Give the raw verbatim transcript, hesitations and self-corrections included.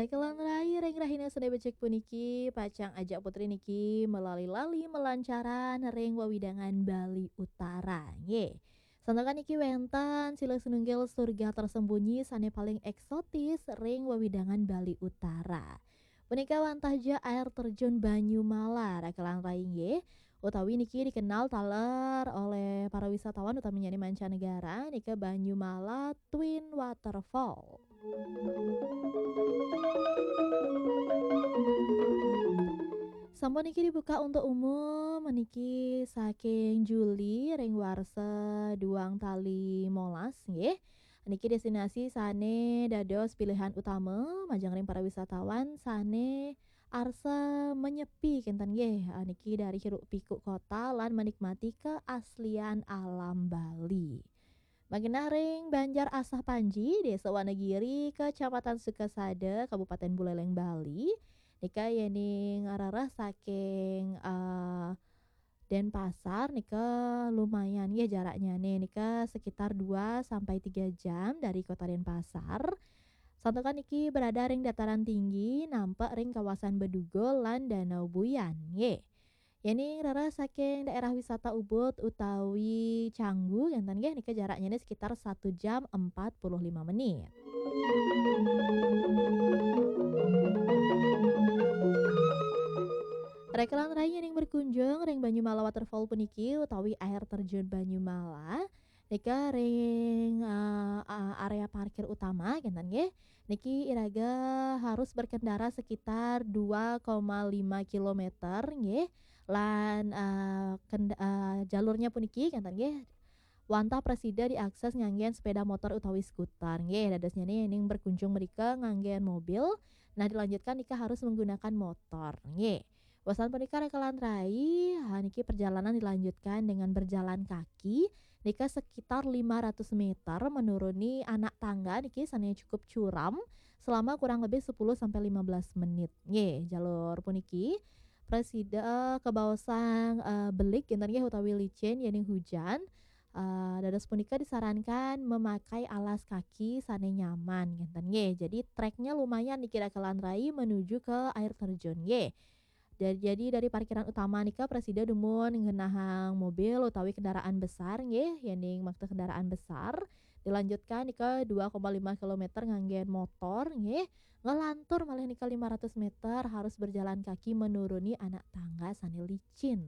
Baiklah, rai ring rahina Senin becik puniki, pacang ajak Putri niki melali-lali melancaran ring wewidangan Bali Utara, nggih. Santukan niki wenten silih sinunggil surga tersembunyi sane paling eksotis ring wewidangan Bali Utara. Punika wantah ja air terjun Banyumala, rekelan rai, nggih, utawi niki dikenal taler oleh para wisatawan, utamanya mancanegara, nika Banyumala Twin Waterfall. Sampun niki dibuka untuk umum niki saking Juli ring warsa duang tali molas, nggih. Niki destinasi sane dados pilihan utama majeng ring para wisatawan sane arsa menyepi kenten, nggih. Ah, niki dari hiruk pikuk kota lan menikmati keaslian alam Bali. Magenah ring Banjar Asah Panji, Desa Wanagiri, Kecamatan Sukasada, Kabupaten Buleleng, Bali. Nika yening rereh saking, eh, Denpasar nika lumayan nggih jaraknyane, nika sekitar dua sampai tiga jam dari kota Denpasar. Santukan niki berada ring dataran tinggi, nampek ring kawasan Bedugul lan Danau Buyan, nggih. Yening rereh saking daerah wisata Ubud utawi Canggu, kenten, nggih, nika jaraknyane sekitar satu jam empat puluh lima menit. Rekelan rai yening berkunjung ring Banyumala Waterfall puniki utawi air terjun Banyumala, nika ring, eh, eh, area parkir utama, kenten, nggih. Niki iraga harus berkendara sekitar dua koma lima kilometer, nggih. Lan, eh, kend-, eh, jalurnya puniki, kenten, nggih, wantah prasida diakses nganggen sepeda motor utawi skuter, nggih. Dadosnyane yening berkunjung mrika nganggen mobil, nah, dilanjutkan nika harus menggunakan motor, nggih. Wasan punika rekelan rai, ha, niki perjalanan dilanjutkan dengan berjalan kaki, nika sekitar lima ratus meter menuruni anak tangga niki sane cukup curam selama kurang lebih sepuluh sampai lima belas menit. Nggih, jalur puniki prasida kabaosang, eh, belik kenten, nggih, utawi licin yening hujan. Eh, dados punika disarankan memakai alas kaki sane nyaman kenten, nggih. Jadi treknya lumayan niki rekelan rai menuju ke air terjun, nggih. Da-, jadi dari parkiran utama nika prasida dumun ngenahang mobil utawi kendaraan besar, nggih, yening makta kendaraan besar. Dilanjutkan nika dua koma lima kilometer nganggen motor, nggih. Ngelantur malih nika lima ratus meter harus berjalan kaki menuruni anak tangga sane licin.